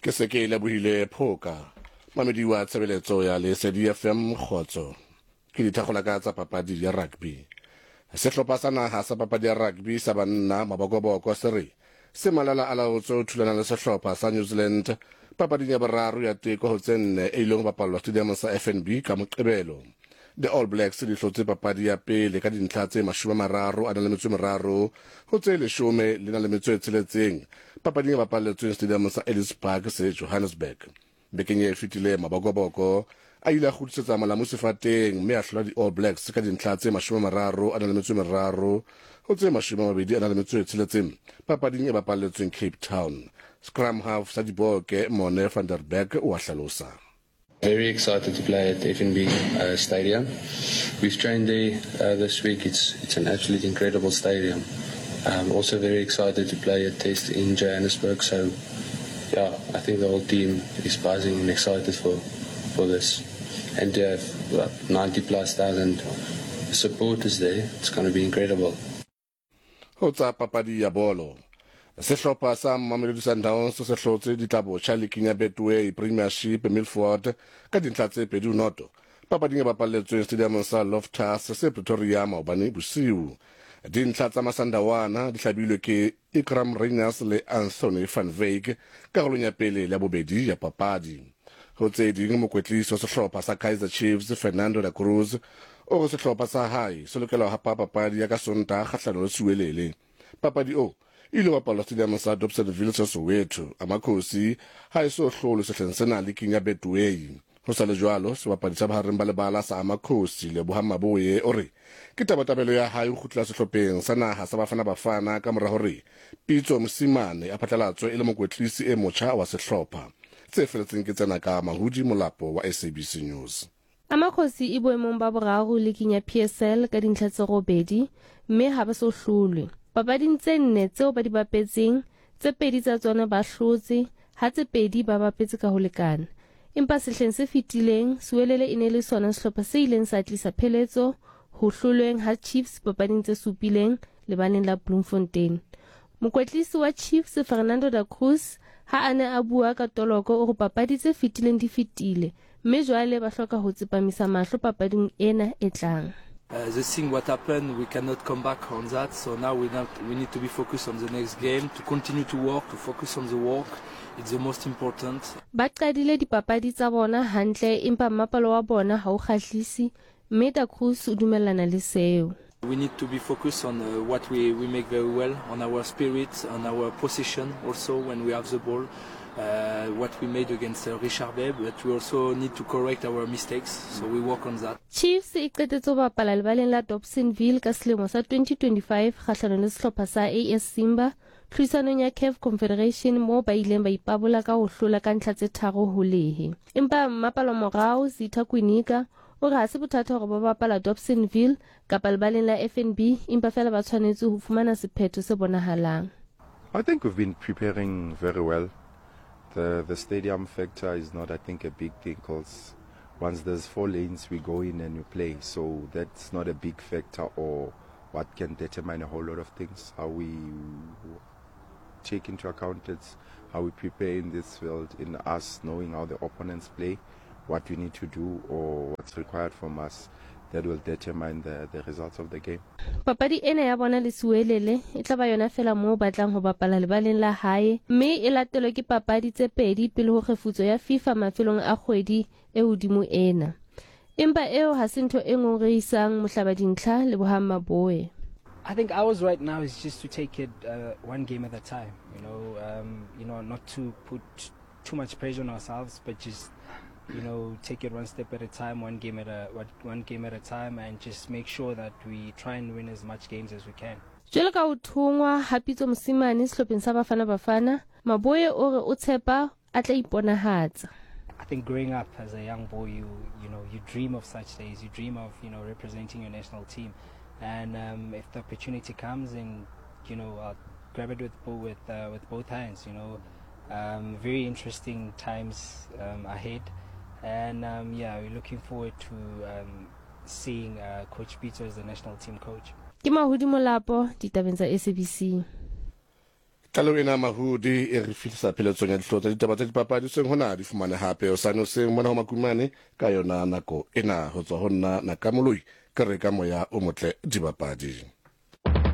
Ke se ke lebohile Phoka, mamedi wa tshebeletso ya Lesedi FM Kgotso. Ke dithakgola ka tsa papadi ya rugby. Sehlopha sa naha sa papadi ya rugby sa banna Mabokoboko se re se malala a laotswe ho thulana le sehlopha sa New Zealand papading ya boraro ya teko ho tse nne e ileng ho bapallwa stadiumong sa FNB ka Moqebelo. The All Blacks di hlotse papadi ya pele ka dintlha tse 33 ho tse 16 papading e bapalletsweng stadiumong sa Ellis Park se Johannesburg. Bekeng e fetileng Mabokoboko a ile a kgutlisetsa molamu sefateng mme a hlola di-All Blacks ka dintlha tse 33 ho tse 26 papading e bapalletsweng Cape Town. Scrum half sa Diboke Morne van der Berg o a hlalosa. Very excited to play at FNB uh, Stadium. We've trained there uh, this week. It's it's an absolutely incredible stadium. I'm also very excited to play a test in Johannesburg. So, yeah, I think the whole team is buzzing and excited for for this. And to have what, 90 plus thousand supporters there, it's going to be incredible. Ho tsa papadi ya bolo, sehlopha sa Mamelodi Sundowns se hlotse ditlabotjha liking ya Betway Premiership Milford ka dintlha tse 2-0 papading e bapalletsweng stadiumong sa Loftus se Pretoria maobane bosiu. Dintlha tsa Masandawana di hlabilwe ke Iqraam Rayners le Anthony van Wyk karolong ya pele le ya bobedi ya papadi. Ho tse ding, mokwetlisi wa sehlopha sa Kaizer Chiefs Fernando da Cruz o re sehlopha sa hae se lokela ho hapa papadi ya ka Sontaha kgahlano le Siwelele. Papadi o e ile bapalwa stadiumong sa Dobsonville se Soweto. Amakhosi ha e so hlolwe sehleng sena liking ya Betway. Ho sa le jwalo, sebapadi sa bohareng ba lebala sa Amakhosi Lebohang Maboe o re ke tabatabelo ya hae ho kgutlela sehlopheng sa naha sa Bafana Bafana ka mora hore Pitso Mosimane a phatlalatswe e le mokwetlisi e motjha wa sehlopha. Tse feletseng ke tsena ka Mahudi Molapo wa SABC News. Amakhosi e boemong ba boraro liking ya PSL ka dintlha tse robedi mme ha ba so hlolwe. Papading tse nne tseo ba di bapetseng, tse pedi tsa tsona ba hlotse, ha tse pedi ba bapetse ka ho lekana. Empa sehleng se fetileng, Siwelele e ne e le sona sehlopha se ileng sa tlisa pheletso ho hlolweng ha Chiefs papading tse supileng lebaleng la Bloemfontein. Mokwetlisi wa Chiefs Fernando da Cruz ha a ne a bua ka toloko o re papadi tse fetileng di fetile mme jwale ba hloka ho tsepamisa mahlo papading ena e tlang. The thing what happened, we cannot come back on that, so now we, not, we need to be focused on the next game, to continue to work, to focus on the work, it's the most important. Ba qadile dipapadi tsa bona hantle empa mmapalo wa bona ha o kgahlise mme Da Cruz o dumellana le seo. We need to be focused on uh, what we, we make very well, on our spirit, on our position also when we have the ball, uh, what we made against uh, Richard Bay, but we also need to correct our mistakes, so we work on that. Chiefs e qetetse ho bapala lebaleng la Dobsonville ka selemo sa 2025 kgahlanong le sehlopha sa AS Simba tlhodisanong ya CAF Confederation moo ba ileng ba ipabola ka ho hlola ka ntlha tse 3-0. Empa mmapalomorao Zitha Kwinika o re ha se bothata hore ba bapala Dobsonville kapa lebaleng la FNB empa feela ba tshwanetse ho fumana sephetho se bonahalang. I think we've been preparing very well. The, the stadium factor is not, I think, a big thing because once there's four lanes, we go in and we play. So that's not a big factor or what can determine a whole lot of things. How we take into account it's how we prepare in this field, in us knowing how the opponents play, what we need to do or what's required from us that will determine the, the results of the game. Papadi ena ya bona le Siwelele e tla ba yona feela moo ba tlang ho bapala lebaleng la hae mme e latelwe ke papadi tse pedi pele ho kgefutso ya FIFA mafelong a kgwedi e hodimo ena. Empa eo ha se ntho e ngongorehisang mohlabadintlha Lebohang Maboe. I think ours right now is just to take it uh, one game at a time, you know, um, you know, not to put too much pressure on ourselves, but just you know, take it one step at a time, one game at a one game at a time, and just make sure that we try and win as much games as we can. Jwalo ka ho thongwa ha Pitso Mosimane sehlopheng sa Bafana Bafana, Maboe o re o tshepa a tla iponahatsa. I think growing up as a young boy, you you know you dream of such days. You dream of you know representing your national team, and um, if the opportunity comes, and you know I'll grab it with with uh, with both hands. You know, um, very interesting times um, ahead, and um, yeah, we're looking forward to um, seeing uh, Coach Peter as the national team coach. Ke Mahodi Molapo ditabeng tsa SABC. Tlaleho ena Mahudi e re fihlisa pheletsong ya dihlooho tsa ditaba tsa dipapadi hoseng hona. Di fumane hape hosane hoseng mona ho Makumane ka yona nako ena. Ho tswa ho nna Nakamoloi ke re ka moya o motle dibapadi.